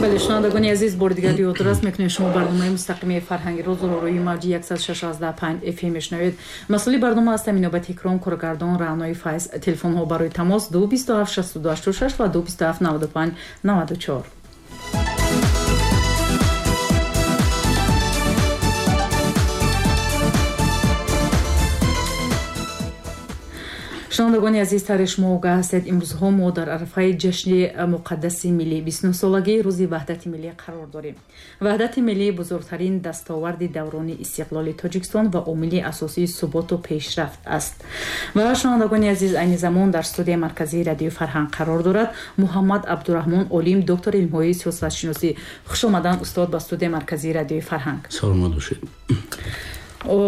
Бале, шунавандагони азиз, бори дигар ёдрас мекунем, шумо барномаи мустақими фарҳанги рӯзро рӯи мавҷи 106.5 FM мешунавед. Масъули барнома ҳастам Инобат Икром, коргардон Раънои Файз. Телефонҳо барои тамос 227 62 86 ва 227 95 94. Шунавандагони азиз, тари шумо огаҳ ҳастед, имрӯзҳо мо дар арафаи ҷашни муқаддаси миллӣ, 29-солагии рӯзи ваҳдати миллӣ қарор дорем. Ваҳдати миллӣ бузургтарин дастоварди даврони истиқлоли Тоҷикистон ва омили асосии суботу пешрафт аст. Ва шунавандагони азиз, айни замон дар студияи марказии радиои фарҳанг қарор дорад Муҳаммад Абдураҳмон Олим, доктори илмҳои сиёсатшиносӣ. Хуш омадан, устод, ба студияи марказии радиои фарҳанг. Саломат бошед.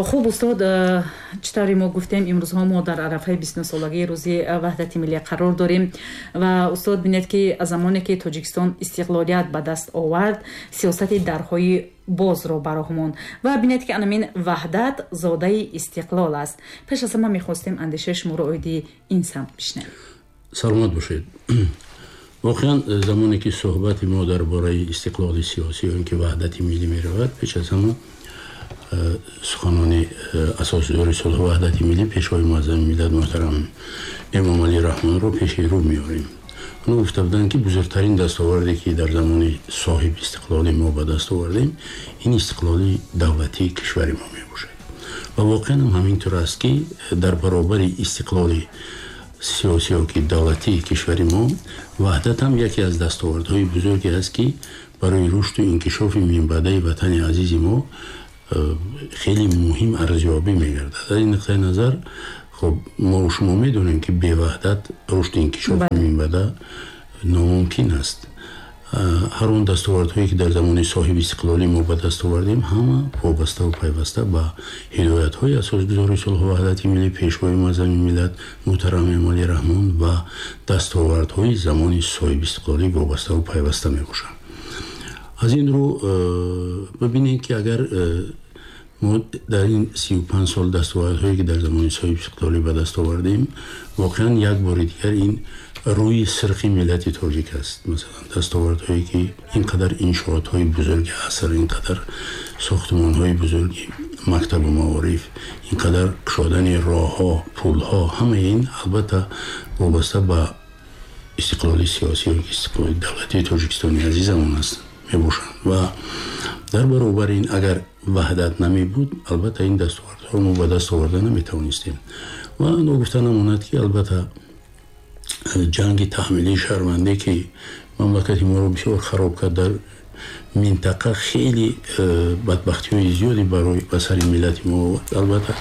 Хуб, устод, чӣ тавре мо гуфтем, имрӯзҳо мо дар арафаи 29-солагии рӯзи ваҳдати миллӣ қарор дорем. Ва устод, бинед, ки аз замоне ки Тоҷикистон истиқлолият ба даст овард, сиёсати дарҳои бозро ба роҳ монд. Ва бинед, ки анамин ваҳдат зодаи истиқлол аст. Пеш аз ҳама мехостем андешаи шуморо оиди ин самт бишнавем. Саломат бошед. Воқеан, замоне ки суҳбати мо дар бораи истиқлоли сиёсӣ ё ин ки ваҳдати миллӣ меравад, пеш аз ҳама суханони асосгузори сулҳу ваҳдати миллӣ, пешвои муаззами миллат муҳтарам Эмомалӣ Раҳмонро пеши рӯ меорем. Онҳо гуфта буданд, ки бузургтарин дастоварде ки дар замони соҳиби истиқлоли мо ба даст овардем, ин истиқлоли давлатии кишвари мо мебошад. Ва воқеан ҳам ҳамин тур аст, ки дар баробари истиқлоли сиёсӣ ё ки давлатии кишвари мо, ваҳдат ҳам яке аз дастовардҳои бузурге аст, ки барои рушду инкишофи минбаъдаи ватани азизи мо хеле муҳим арзёбӣ мегардад. Аз ин нуқтаи назар, хуб, мо шумо медонем, ки беваҳдат рушди инкишофи минбаъда номумкин аст. Ҳар он дастовардҳое ки дар замони соҳиби истиқлолӣ мо ба даст овардем, ҳама вобаставу пайваста ба ҳидоятҳои асосгузори сулҳу ваҳдати миллӣ, пешвои муаззами миллат муҳтарам Эмомалӣ Раҳмон ва дастовардҳои замони соҳиби истиқлолӣ вобаставу пайваста мебошанд. Аз ин рӯ, бибинед, ки агар мо дар ин 35 сол дастовардҳое ки дар замони соҳиби истиқлолӣ ба даст овардем, воқеан як бори дигар ин рӯи сирхи миллати тоҷик аст. Масалан, дастовардҳое ки ин қадар иншоотҳои бузурги аср, ин қадар сохтмонҳои бузурги мактабу маориф, ин қадар кушодани роҳҳо, пулҳо, ҳамаи ин албатта вобаста ба истиқлоли сиёсӣ ё истиқлоли давлатии Тоҷикистони азизамон аст мебошанд. Ва дар баробари ин, агар ваҳдат намебуд, албатта ин дастовардҳоро мо ба даст оварда наметавонистем. Ва ногуфта намонад, ки албатта ҷанги таҳмилии шаҳрвандӣ, ки мамлакати моро бисёр хароб кард, дар минтақа хеле бадбахтиҳои зиёде барои ба сари миллати мо овард, албатта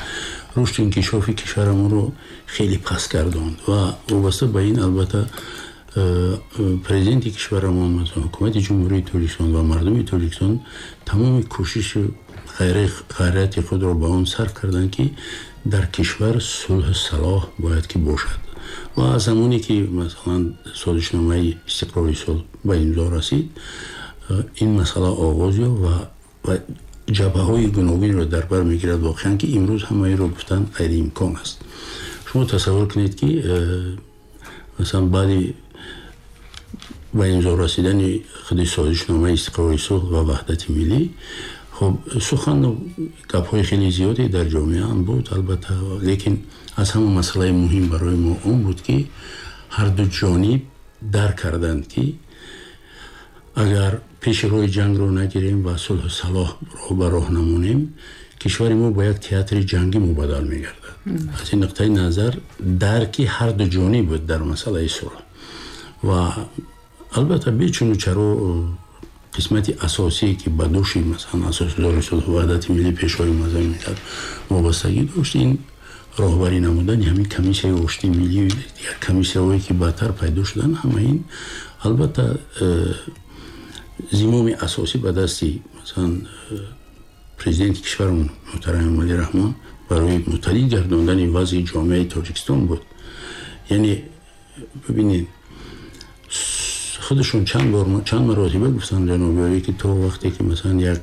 рушду инкишофи кишварамонро хеле паст гардонд. Ва вобаста ба ин, албатта, президенти кишварамон, масалан, ҳукумати Ҷумҳурии Тоҷикистон ва мардуми Тоҷикистон тамоми кӯшишу ғайрати худро ба он сарф карданд, ки дар кишвар сулҳу салоҳ бояд ки бошад. Ва аз замоне ки, масалан, созишномаи истиқрори сулҳ ба имзо расид, ин масъала оғоз ёфт ва ҷабҳаҳои гуногунро дар бар мегирад. Воқеан ки имрӯз ҳамаиро гуфтан ғайриимкон аст. Шумо тасаввур кунед, ки масалан, баъди ба имзо расидани худи созишномаи истиқрори сулҳ ва ваҳдати миллӣ, хуб, сухану гапҳои хеле зиёде дар ҷомеа ҳам буд, албатта, лекин аз ҳама масъалаи муҳим барои мо он буд, ки ҳарду ҷониб дарк карданд, ки агар пеши роҳи ҷангро нагирем ва сулҳу салоҳро ба роҳ намонем, кишвари мо ба як театри ҷангӣ мубаддал мегардад. Аз ин нуқтаи назар, дарки ҳарду ҷониб буд дар масъалаи сулҳ. Ва албатта, бечуну чаро, қисмати асосие ки ба дӯши, масалан, асосгузори сулҳу ваҳдати миллӣ, пешвои муаззами миллат вобастагӣ дошт, ин роҳбарӣ намудани ҳамин комиссияи оштии миллӣ, дигар комиссияҳое ки баъдтар пайдо шуданд, ҳама ин албатта зимоми асосӣ ба дасти, масалан, президенти кишварамон муҳтарам Эмомалӣ Раҳмон барои муттаҳид гардондани вазъи ҷомеаи Тоҷикистон буд. Яъне бибинед, худашон чанд бор, чанд маротиба гуфтанд ҷаноби олӣ, ки то вақте ки, масалан, як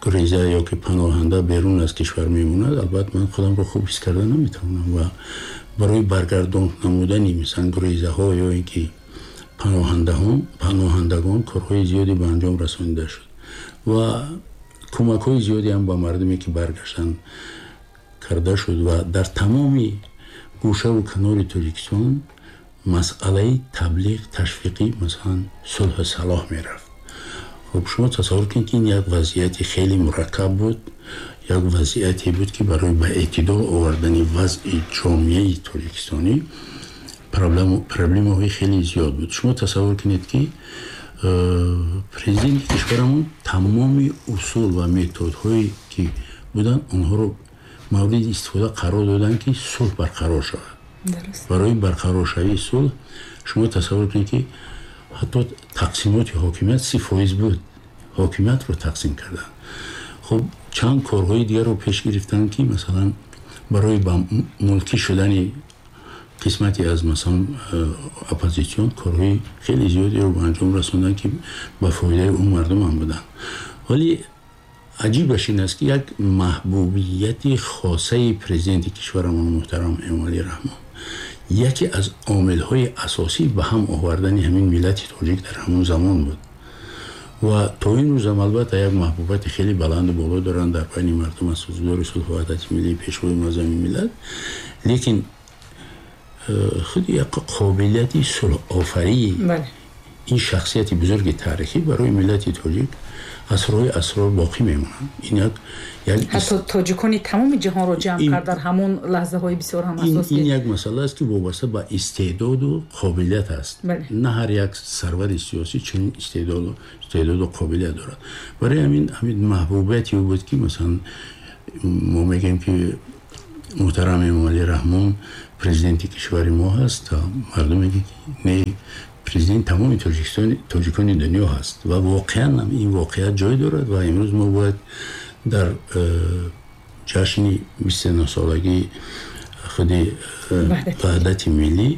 гуреза ё ки паноҳанда берун аз кишвар мемонад, албатта, ман худамро хуб ҳис карда наметавонам. Ва барои баргардон намудани, масалан, гурезаҳо ё ин ки паноҳандагон корҳои зиёде ба анҷом расонида шуд ва кӯмакҳои зиёде ҳам ба мардуме ки баргаштанд карда шуд ва дар тамоми гӯшаву канори Тоҷикистон масъалаи таблиғ, ташвиқӣ, масалан, сулҳу салоҳ мерафт. Хуб, шумо тасаввур кунед, ки ин як вазъияти хеле мураккаб буд, як вазъияте буд, ки барои ба эътидол овардани вазъи ҷомеаи тоҷикистонӣ проблемаҳои хеле зиёд буд. Шумо тасаввур кунед, ки президенти кишварамон тамоми усул ва методҳое ки буданд, онҳоро мавриди истифода қарор доданд, ки сулҳ барқарор шавад. Барои барқароршавии сулҳ шумо тасаввур кунед, ки ҳатто тақсимоти ҳокимият 30% буд, ҳокимиятро тақсим карданд. Хуб, чанд корҳои дигарро пеш гирифтанд, ки масалан барои ба мулкӣ шудани қисмате аз, масалан, оппозитсион корҳои хеле зиёдеро ба анҷом расонданд, ки ба фоидаи он мардум ҳам буданд. Вале аҷибаш ин аст, ки як маҳбубияти хосаи президенти кишварамон муҳтарам Эмомалӣ Раҳмон яке аз омилҳои асосӣ ба ҳам овардани ҳамин миллати тоҷик дар ҳамон замон буд ва то ин рӯзам, албатта, як маҳбубияти хеле баланду боло доранд дар байни мардум асосгузори сулҳу ваҳдати миллӣ, пешвои муаззами миллат. Лекин худи як қобилияти сулҳофарии ин шахсияти бузурги таърихӣ барои миллати тоҷик асрҳои асрор боқӣ мемонанд. Ин як ҳатто тоҷикони тамоми ҷаҳонро ҷамъ кард дар ҳамон лаҳзаҳои бисёр ҳам асос. Ин як масъала аст, ки вобаста ба истеъдоду қобилият аст. На ҳар як сарвари сиёсӣ чунин истеъдоду қобилият дорад. Барои ҳамин маҳбубияти ӯ буд, ки масалан мо мегӯем, ки муҳтарам Эмомалӣ Раҳмон президенти кишвари мо ҳаст, мардум мегӯяд, ки не, президент тамоми тоҷикони дунё ҳаст. Ва воқеан ин воқеият ҷой дорад ва имрӯз мо бояд дар ҷашни 29-солагии худи ваҳдати миллӣ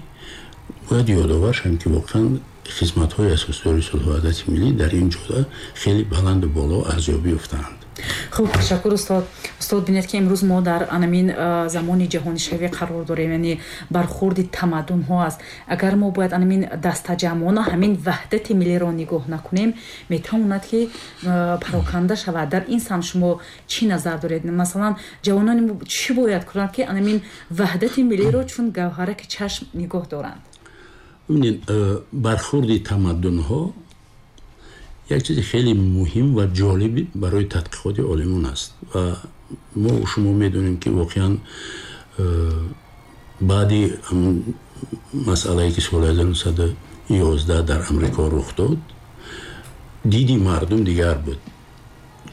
бояд ёдовар шавем, ки воқеан хизматҳои асосгузори сулҳу ваҳдати миллӣ дар ин ҷода хеле баланду боло арзёбӣ ёфтаанд. Хуб, ташаккур, устод. Устод, бинед, ки имрӯз мо дар анамин замони ҷаҳонишавӣ қарор дорем, яъне бархурди тамаддунҳо аст. Агар мо бояд анамин дастаҷамъона ҳамин ваҳдати миллиро нигоҳ накунем, метавонад, ки пароканда шавад. Дар ин самт шумо чӣ назар доред? Масалан, ҷавонони мо чӣ бояд кунанд, ки анамин ваҳдати миллиро чун гавҳараки чашм нигоҳ доранд? Бибинед, бархурди тамаддунҳо як чизи хеле муҳим ва ҷолиб барои тадқиқоти олимон аст ва мо шумо медонем, ки воқеан баъди масъалае, ки соли 1911 дар Амрико рух дод, диди мардум дигар буд.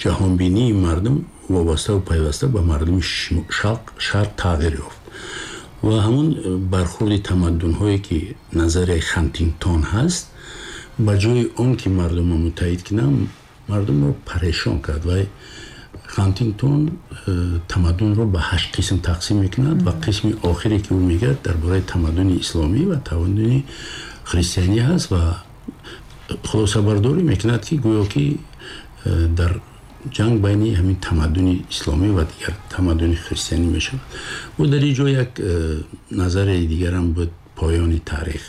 Ҷаҳонбинии мардум вобаставу пайваста ба мардуми шарқ тағйир ёфт ва ҳамон бархурди тамаддунҳое, ки назарияи Хантингтон ҳаст, ба ҷои он ки мардумро муттаҳид кунам, мардумро парешон кард. Ва Хантингтон тамаддунро ба ҳашт қисм тақсим мекунад ва қисми охире, ки ӯ мегӯяд, дар бораи тамаддуни исломӣ ва тамаддуни христианӣ ҳаст ва хулосабардорӣ мекунад, ки гӯё ки дар ҷанг байни ҳамин тамаддуни исломӣ ва дигар тамаддуни христианӣ мешавад. Ӯ дар ин ҷо як назарияи дигарам буд, поёни таърих,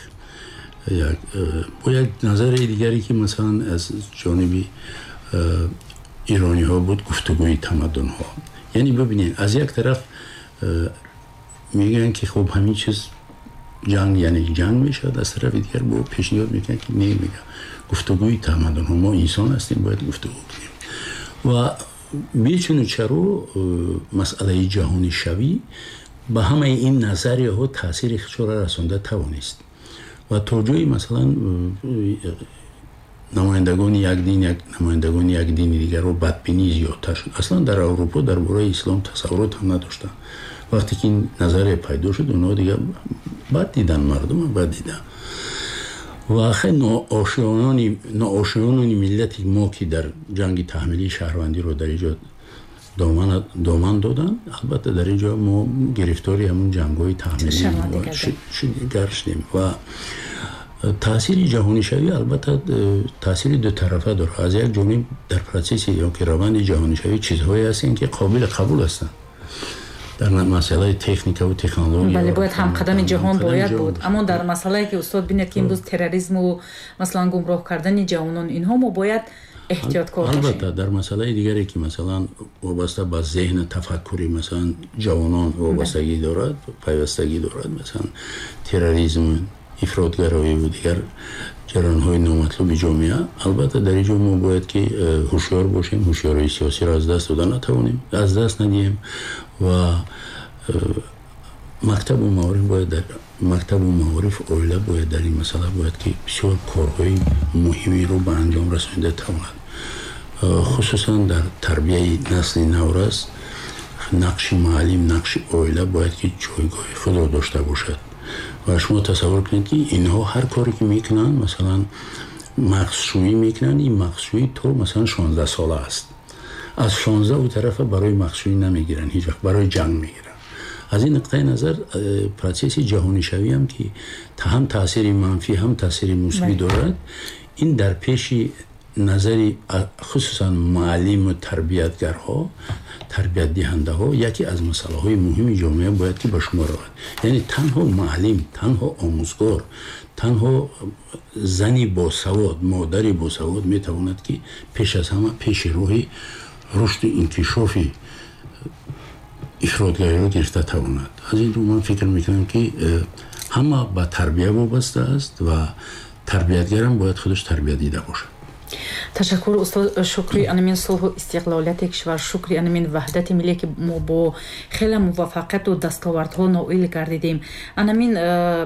бо як назарияи дигаре, ки масалан аз ҷониби ирониҳо буд, гуфтугӯи тамаддунҳо. Яъне бибинед, аз як тараф мегӯянд, ки хуб, ҳамин чиз ҷанг, яъне ҷанг мешавад, аз тарафи дигар бо пешниҳод мекунанд, ки не, мега, гуфтугӯи тамаддунҳо, мо инсон ҳастем, бояд гуфтугӯ кунем. Ва бечуну чаро масъалаи ҷаҳонишавӣ ба ҳамаи ин назарияҳо таъсири худшро расонда тавонист ва то ҷои масалан намояндагони як дин як намояндагони як дини дигарро бадбинӣ зиёдтар шуд. Аслан дар Аврупо дар бораи ислом тасаввурот ҳам надоштанд. Вақте ки ин назария пайдо шуд, онҳо дигар бад дидан, мардума бад дидан. Ва хеле ноошиёнони миллати мо, ки дар ҷанги таҳмилии шаҳрвандиро дар ин ҷо доман доданд, албатта, дар ин ҷо мо гирифтори ҳамун ҷангҳои таҳмилӣ гаштем. Ва таъсири ҷаҳонишавӣ, албатта, таъсири дутарафа дорад. Аз як ҷониб, дар процесси ёки раванди ҷаҳонишавӣ чизҳое ҳастанд, ки қобили қабул ҳастанд. Дар масъалаи техника ва технология, бале, бояд ҳамқадами ҷаҳон бояд буд. Аммо дар масъалае ки, устод, бинед, ки имрӯз терроризму, масалан, гумроҳ кардани ҷавонон, инҳо мо бояд эҳтиёткор бошем. Албатта, дар масъалаи дигаре ки, масалан, вобаста ба зеҳну тафаккури, масалан, ҷавонон вобастагӣ дорад, пайвастагӣ дорад, масалан, терроризм, ифротгароӣ ва дигар ҷараёнҳои номатлуби ҷомеа, албатта, дар ин ҷо мо бояд ки ҳушёр бошем, ҳушёрии сиёсиро аз даст дода натавонем, аз даст надиҳем ва мактабу маориф бояд, дар мактабу маориф, оила бояд дар ин масъала бояд ки бисёр корҳои муҳимеро ба анҷом расонида тавонад. Хусусан дар тарбияи насли наврас нақши муаллим, нақши оила бояд ки ҷойгоҳи худро дошта бошад. Ва шумо тасаввур кунед, ки инҳо ҳар коре ки мекунанд, масалан, мағзшӯӣ мекунанд, ин мағзшӯӣ то, масалан, 16 сола аст. Аз 16 у тарафа барои мағзшӯӣ намегиранд ҳеҷ вақт, барои ҷанг мегиранд. Аз ин нуқтаи назар процесси ҷаҳонишавиам ки ҳам таъсири манфӣ, ҳам таъсири мусбӣ дорад, ин дар пеши назари хусусан муаллиму тарбиятгарҳо, тарбиятдиҳандаҳо яке аз масъалаҳои муҳими ҷомеа бояд ки ба шумор равад. Яъне танҳо муаллим, танҳо омӯзгор, танҳо зани босавод, модари босавод метавонад ки пеш аз ҳама пеши роҳи рушду инкишофи ифротгариро гирифта тавонад. Аз ин рӯ ман фикр мекунам, ки ҳама ба тарбия вобаста аст ва тарбиятгарам бояд худаш тарбия дида бошад. Ташаккур, устод. Шукри анамин сулҳу истиқлолияти кишвар, шукри анамин ваҳдати миллие, ки мо бо хеле муваффақияту дастовардҳо ноил гардидем. Анамин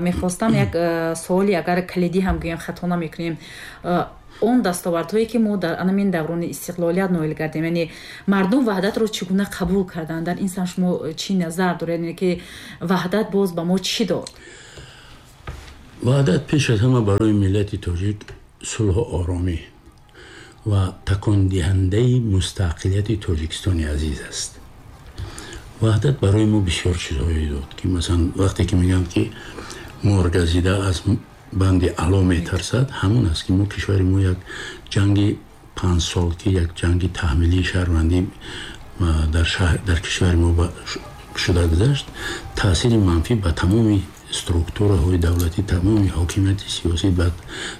мехостам як суоли, агар калидӣ ҳам гӯем, хато намекунем, он дастовардҳое ки мо дар анамин даврони истиқлолият ноил гардем, яъне мардум ваҳдатро чӣ гуна қабул карданд? Дар ин самт шумо чӣ назар доред, яъне ки ваҳдат боз ба мо чӣ дод? Ваҳдат пеш аз ҳама барои миллати тоҷик сулҳу оромӣ ва такондиҳандаи мустақилияти Тоҷикистони азиз аст. Ваҳдат барои мо бисёр чизҳое дод, ки, масалан, вақте ки мегӯянд, ки моргазида аз банди ало метарсад, ҳамон аст, ки мо, кишвари мо, як ҷанги 5 сол, ки як ҷанги таҳмилии шаҳрвандӣ дар кишвари мо шуда гузашт, таъсири манфӣ ба тамоми структураҳои давлатӣ, тамоми ҳокимияти сиёсӣ,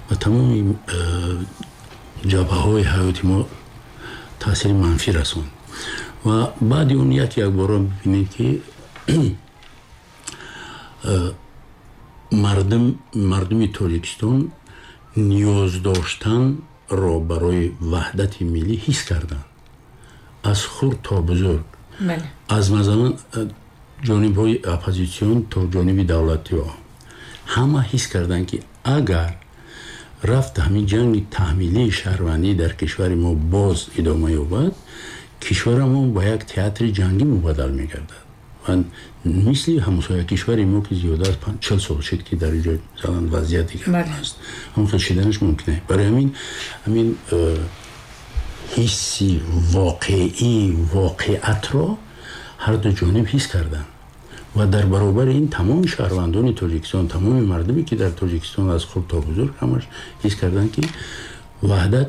ба тамоми ҷабҳаҳои ҳаёти мо таъсири манфӣ расонд. Ва баъди он як якбора бибинед, ки мардуми Тоҷикистон ниёз доштанро барои ваҳдати миллӣ ҳис карданд, аз хурд то бузург, аз, масалан, ҷонибҳои оппозитсион то ҷониби давлатиҳо, ҳама ҳис карданд, ки агар рафт ҳамин ҷанги таҳмилии шаҳрвандӣ дар кишвари мо боз идома ёбад, кишварамон ба як театри ҷангӣ мубаддал мегардад ва мисли ҳамсоя кишвари мо, ки зиёда аз 40 сол шуд, ки дар ҷо, масалан, вазъият дигар аст, ҳамон хел шиданаш мумкин аст. Барои ҳамин ҳисси воқеӣ, воқеатро ҳарду ҷониб ҳис карданд ва дар баробари ин тамоми шаҳрвандони Тоҷикистон, тамоми мардуме, ки дар Тоҷикистон, аз хурд то бузург, ҳамаш ҳис карданд, ки ваҳдат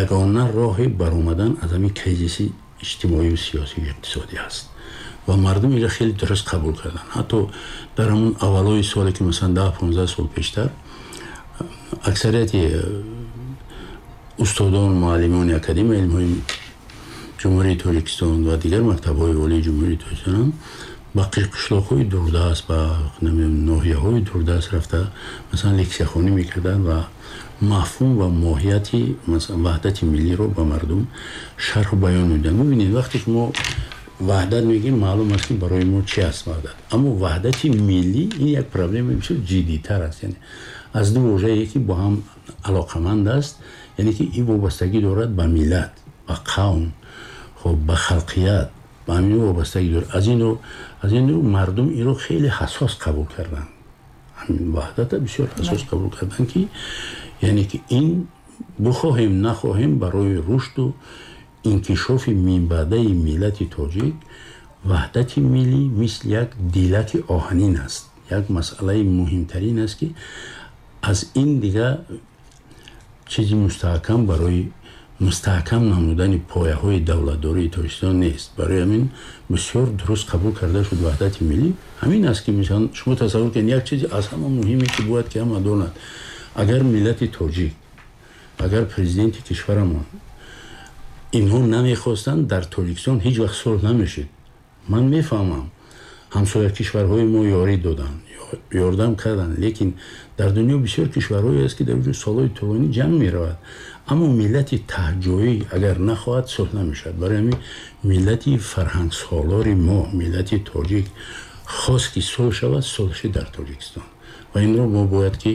ягона роҳи баромадан аз ҳамин кризиси иҷтимоию сиёсию иқтисодӣ аст. Ва мардум инро хеле дуруст қабул карданд. Ҳатто дар ҳамон аввалои соле, ки, масалан, 10-15 сол пештар, аксарияти устодон, муаллимони Академияи илмҳои Ҷумҳурии Тоҷикистон ва дигар мактабҳои олии Ҷумҳурии Тоҷикистон ба қишлоқҳои дурдаст, ба ноҳияҳои дурдаст рафта, масалан, лексияхонӣ мекарданд ва мафҳум ва моҳияти ваҳдати миллиро ба мардум шарҳу баён медоданд. Бибинед, вақте ки мо ваҳдат мегӯем, маълум аст, ки барои мо чи аст ваҳдат. Аммо ваҳдати миллӣ ин як проблемаи бисёр ҷиддитар аст, яъне аз ду вожае, ки бо ҳам алоқаманд аст, яъне ки ин вобастагӣ дорад ба миллат, ба қавм, хоб, ба халқият, ба ҳамин вобастагӣ дорад. Аз ин рӯ мардум инро хеле ҳассос қабул карданд, ваҳдата бисёр ҳассос қабул карданд, ки яъне ки ин, бихоҳем нахоҳем, барои рушду инкишофи минбаъдаи миллати тоҷик ваҳдати миллӣ мисли як дилаки оҳанин аст, як масъалаи муҳимтарин аст, ки аз ин дигар чизи мустаҳкам барои мустаҳкам намудани пояҳои давлатдории Тоҷикистон нест. Барои ҳамин бисёр дуруст қабул карда шуд ваҳдати миллӣ. Ҳамин аст ки мисалан шумо тасаввур кунед, як чизи аз ҳама муҳиме ки бояд ки ҳама донад, агар миллати тоҷик, агар президенти кишварамон инҳо намехостанд, дар Тоҷикистон ҳеҷ вақт сулҳ намешид. Ман мефаҳмам, ҳамсоя кишварҳои мо ёрӣ доданд, ёрдам карданд, лекин дар дунё бисёр кишварҳое аст ки дар онҷо солҳои тӯлонӣ ҷанг меравад. Аммо миллати таҳҷоӣ агар нахоҳад, сулҳ намешавад. Барои ҳамин миллати фарҳангсолори мо, миллати тоҷик хост ки сулҳ шавад, сулҳ шид дар Тоҷикистон. Ва инро мо бояд ки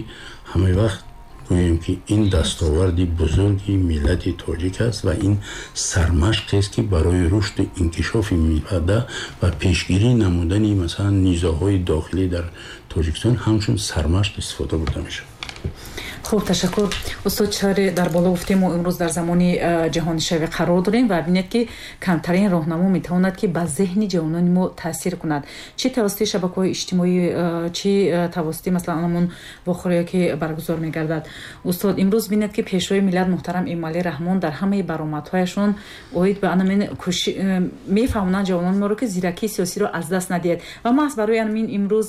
ҳама вақт гӯем ки ин дастоварди бузурги миллати тоҷик аст ва ин сармашқест ки барои рушду инкишофи минтақа ва пешгирӣ намудани масалан низоъҳои дохилӣ дар Тоҷикистон ҳамчун сармашқ истифода бурда мешавад. Хуб, ташаккур. Устод, чаре дар боло гуфтем, мо имрӯз дар замони ҷаҳонишавӣ қарор дорем ва бинед ки камтарин роҳнамо метавонад ки ба зеҳни ҷавонони мо таъсир кунад, чӣ тавассути шабакаҳои иҷтимоӣ, чӣ тавассути масалан ҳамон вохӯрие ки баргузор мегардад. Устод, имрӯз бинед ки пешвои миллат муҳтарам Эмомалӣ Раҳмон дар ҳамаи баромадҳояшон оид ба ҳамин мефаҳмонанд ҷавонони моро ки зиракии сиёсиро аз даст надиҳед. Ва маҳз барои ҳамин имрӯз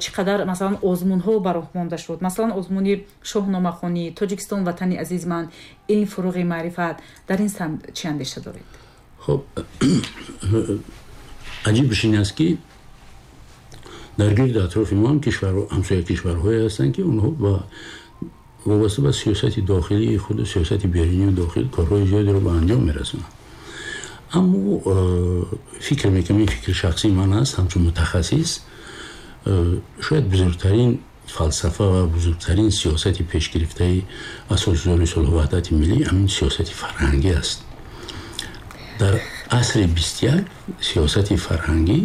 чӣ қадар масалан озмунҳо ба роҳ монда шуд, масалан озмуни шоҳномахонӣ, Тоҷикистон ватани азиз ман, илм фуруғи маърифат. Дар ин самт чӣ андеша доред? Хуб, аҷибаш ин аст ки дар гирди атрофи мо ҳам ҳамсоя кишварҳое ҳастанд ки онҳо ба вобаста ба сиёсати дохилии худ, сиёсати берунию дохил корҳои зиёдеро ба анҷом мерасонанд. Аммо фикр мекунам, ин фикри шахсии ман аст ҳамчун мутахассис, шояд бузургтарин фалсафа ва бузургтарин сиёсати пешгирифтаи асосгузори сулҳу ваҳдати миллӣ ҳамин сиёсати фарҳангӣ аст. Дар асри 21 сиёсати фарҳангӣ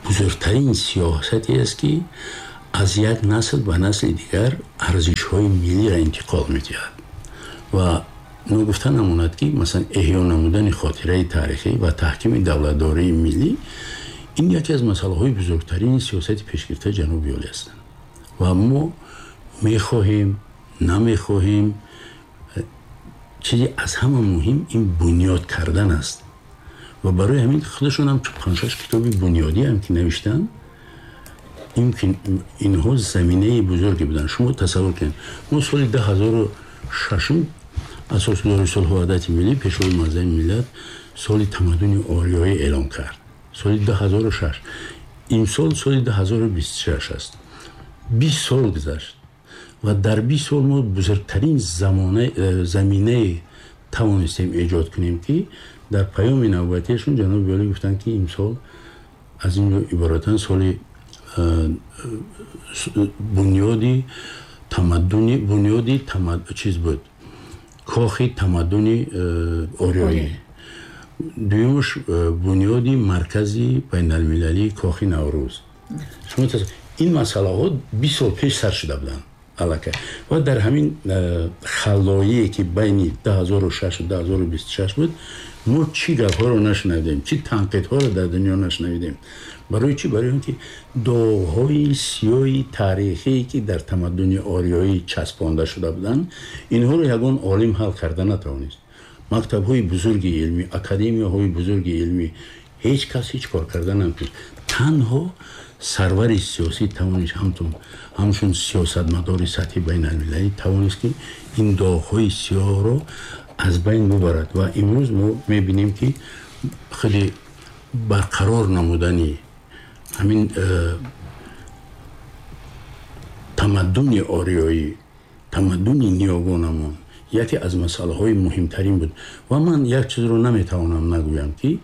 бузургтарин сиёсате аст ки аз як насл ба насли дигар арзишҳои миллиро интиқол медиҳад. Ва ногуфта намонад ки масалан эҳё намудани хотираи таърихӣ ва таҳкими давлатдории миллӣ ин яке аз масъалаҳои бузургтарини сиёсати пешгирифтаи ҷануби олӣ ҳастанд. Ва мо мехоҳем, намехоҳем, чизи аз ҳама муҳим ин бунёд кардан аст. Ва барои ҳамин худашон ҳам панҷ-шаш китоби бунёдӣ ҳам ки навиштанд, инҳо заминаи бузурге буданд. Шумо тасаввур кунед, мо соли 2006 асосгузори сулҳу ваҳдати миллӣ, пешвои муаззами миллат соли тамаддуни ориёӣ эълон кард. Соли 2006. Имсол соли 2026 аст. 20 сол гузашт ва дар 20 сол мо бузургтарин заминае тавонистем эҷод кунем ки дар паёми навбатиашон ҷаноби олӣ гуфтанд ки имсол аз ин иборатан соли бунёди тамаддуни, бунёди чиз буд, кохи тамаддуни ориёӣ, дуюмаш бунёди маркази байналмилалии кохи Наврӯз. Шумо ин масъалаҳо 20 сол пеш сар шуда буданд аллакай. Ва дар ҳамин халлоие ки байни 2006 ва 2026 буд, мо чӣ гапҳоро нашунавидем, чӣ танқидҳоро дар дунё нашунавидем. Барои чӣ? Барои он ки доғҳои сиёҳи таърихие ки дар тамаддуни ориёӣ часпонда шуда буданд, инҳоро ягон олим ҳал карда натавонист. Мактабҳои бузурги илмӣ, академияҳои бузурги илмӣ, ҳеҷ кас ҳеҷ кор карда наметавонист. Танҳо сарвари сиёсӣ тавонист, ҳамчун сиёсатмадори сатҳи байналмилалӣ тавонист ки ин доғҳои сиёҳро аз байн бубарад. Ва имрӯз мо мебинем ки худи барқарор намудани ҳамин тамаддуни ориёӣ, тамаддуни ниёгонамон яке аз масъалаҳои муҳимтарин буд. Ва ман як чизро наметавонам нагӯям ки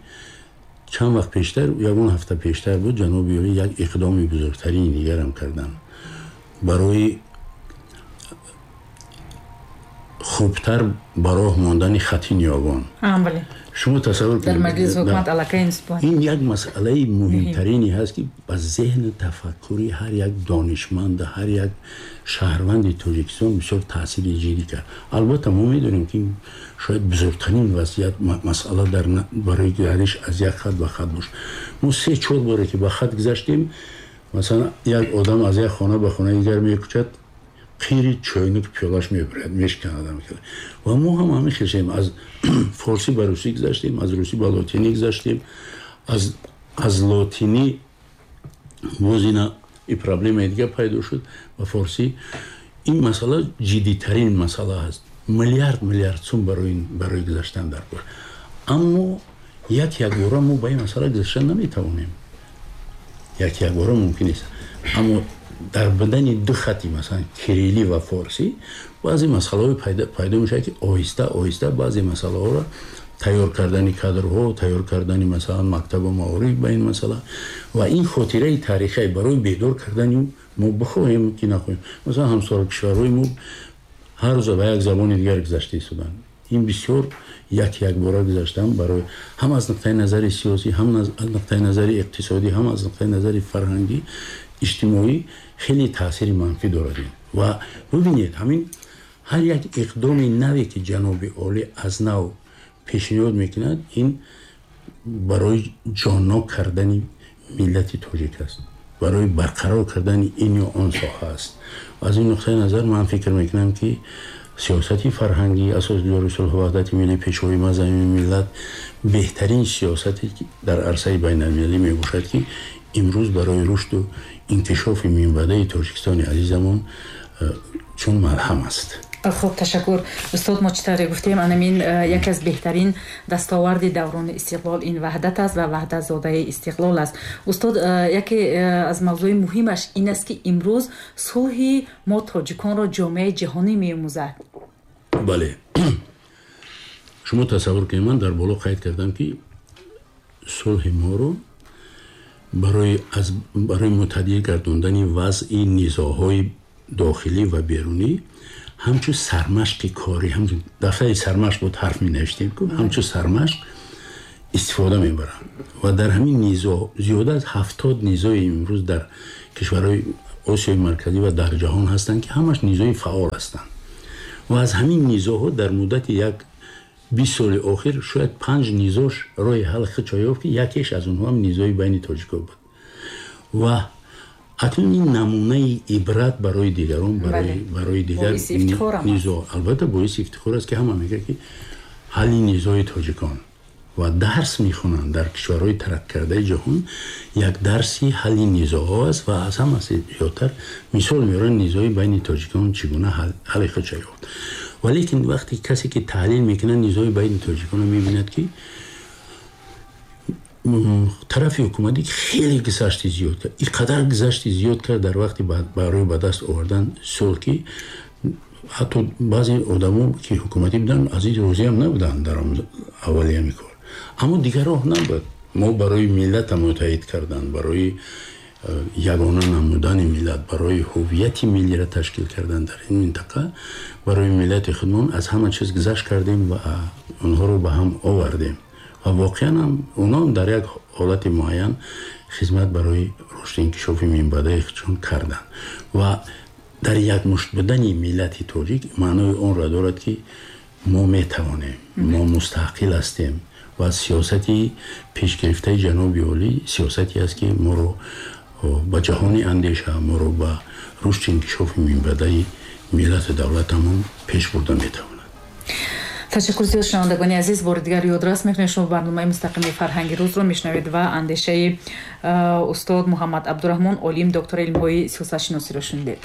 чанд вақт пештар, ягон ҳафта пештар буд, ҷаноби олӣ як иқдоми бузургтарини дигарам карданд барои хубтар ба роҳ мондани хати ниёгон. Шумо тасаввур кунед, дар маҷлиси ҳукумат аллакай ин як масъалаи муҳимтарине ҳаст ки ба зеҳну тафаккури ҳар як донишманд, ҳар як шаҳрванди Тоҷикистон бисёр таъсири ҷиддӣ кард. Албатта мо медонем ки шояд бузургтарин вазъият масъала барои гардиш аз як хат ба хат бошад. Мо 3-4 боре ки ба хат гузаштем, масалан як одам аз як хона ба хонаи дигар мекӯчад, Қири чойнук пиёлаш мебурад, мешканад. Ва мо ҳам ҳамин хел шудем. Аз форсӣ ба русӣ гузаштем, аз русӣ ба лотинӣ гузаштем, аз лотинӣ боз ина и проблемаи дигар пайдо шуд ба форсӣ. Ин масъала ҷиддитарин масъала аст. Миллиард миллиард сум барои гузаштан дар кор. Аммо як якбора мо ба ин масъала гузаштан наметавонем, як якбора мумкин нест. Аммо дар будани ду хати, масалан, кириллӣ ва форсӣ, баъзе масъалаҳое пайдо мешавад, ки оҳиста оҳиста баъзе масъалаҳоро тайёр кардани кадрҳо, тайёр кардани, масалан, мактабу маориф ба ин масъала ва ин хотираи таърихӣ барои бедор кардани мо, бихоҳем ки нахоҳем. Масалан, ҳамсоя кишварҳои мо ҳар рӯза ба як забони дигар гузашта истоданд. Ин бисёр як якбора гузаштан барои ҳам аз нуқтаи назари сиёсӣ, ҳам аз нуқтаи назари иқтисодӣ, ҳам аз нуқтаи назари фарҳангӣ, иҷтимоӣ хеле таъсири манфӣ дорад. Ва бубинед, ҳамин ҳар як иқдоми наве, ки ҷаноби олӣ аз нав пешниҳод мекунад, ин барои ҷоннок кардани миллати тоҷик аст, барои барқарор кардани ин ё он соҳа аст. Аз ин нуқтаи назар ман фикр мекунам, ки сиёсати фарҳангӣ асосгузори сулҳу ваҳдати миллӣ, пешвои муаззами миллат беҳтарин сиёсате дар арсаи байналмилалӣ мебошад, ки имрӯз барои рушду инкишофи минбаъдаи Тоҷикистони азизамон чун малҳам аст. Хуб, ташаккур, устод. Мо чӣ тавре гуфтем, анамин яке аз беҳтарин дастоварди даврони истиқлол ин ваҳдат аст ва ваҳдат зодаи истиқлол аст. Устод, яке аз мавзӯи муҳимаш ин аст, ки имрӯз сулҳи мо тоҷиконро ҷомеаи ҷаҳонӣ меомӯзад. Бале, шумо тасаввур кунед, ман дар боло қайд кардам, ки сулҳи моро барои мутадил гардондани вазъи низоъҳои дохилӣ ва берунӣ ҳамчун сармашқи корӣ, ҳамчун дафтари сармашқ буд, ҳарф менавиштем ку, ҳамчун сармашқ истифода мебаранд. Ва дар ҳамин низоъ зиёда аз 70 низои имрӯз дар кишварҳои Осиёи Марказӣ ва дар ҷаҳон ҳастанд, ки ҳамаш низои фаъол ҳастанд. Ва аз ҳамин низоъҳо дар муддати як 20 соли охир шояд панҷ низош роҳи ҳал худшо ёфт, ки якеш аз онҳо ҳам низои байни тоҷико буд. Ва акнун ин намунаи ибрат барои дигарон, барои дигар низоъ, албатта, боиси ифтихор аст, ки ҳама мегӯяд, ки ҳалли низои тоҷикон, ва дарс мехонанд дар кишварҳои тараққикардаи ҷаҳон, як дарси ҳалли низоъҳо аст. Ва аз ҳама зиёдтар мисол меоранд низои байни тоҷикон чӣ гуна ҳалли худша ёфт. Валекин вақте касе ки таҳлил мекунад низои байни тоҷиконро, мебинад, ки тарафи ҳукуматӣ хеле гузашти зиёд кард, ин қадар гузашти зиёд кард дар вақти барои ба даст овардан сулҳ, ки ҳатто баъзе одамо, ки ҳукуматӣ буданд, аз ин розиам набуданд дар аввали ҳамин кор. Аммо дигар роҳ набуд. Мо барои миллата муттаҳид кардан, барои ягона намудани миллат, барои ҳуввияти миллиро ташкил кардан дар ин минтақа, барои миллати худмон аз ҳама чиз гузашт кардем ва онҳоро ба ҳам овардем. Ва воқеан ҳам онҳо дар як ҳолати муайян хизмат барои рушди инкишофи минбаъдаи худшон карданд. Ва дар якмушт будани миллати тоҷик маънои онро дорад, ки мо метавонем, мо мустақил ҳастем ва сиёсати пешгирифтаи ҷаноби олӣ сиёсате аст, ки моро ба ҷаҳони андеша, моро ба рушди инкишофи минбаъдаи миллату давлатамон пеш бурда метавонад. Ташаккур зиёд. Шунавандагони азиз, бори дигар ёдрас мекунем, шумо барномаи мустақими «Фарҳанги рӯзро» мешунавед ва андешаи устод Муҳаммад Абдураҳмон, олим, доктори илмҳои сиёсатшиносиро шунидед.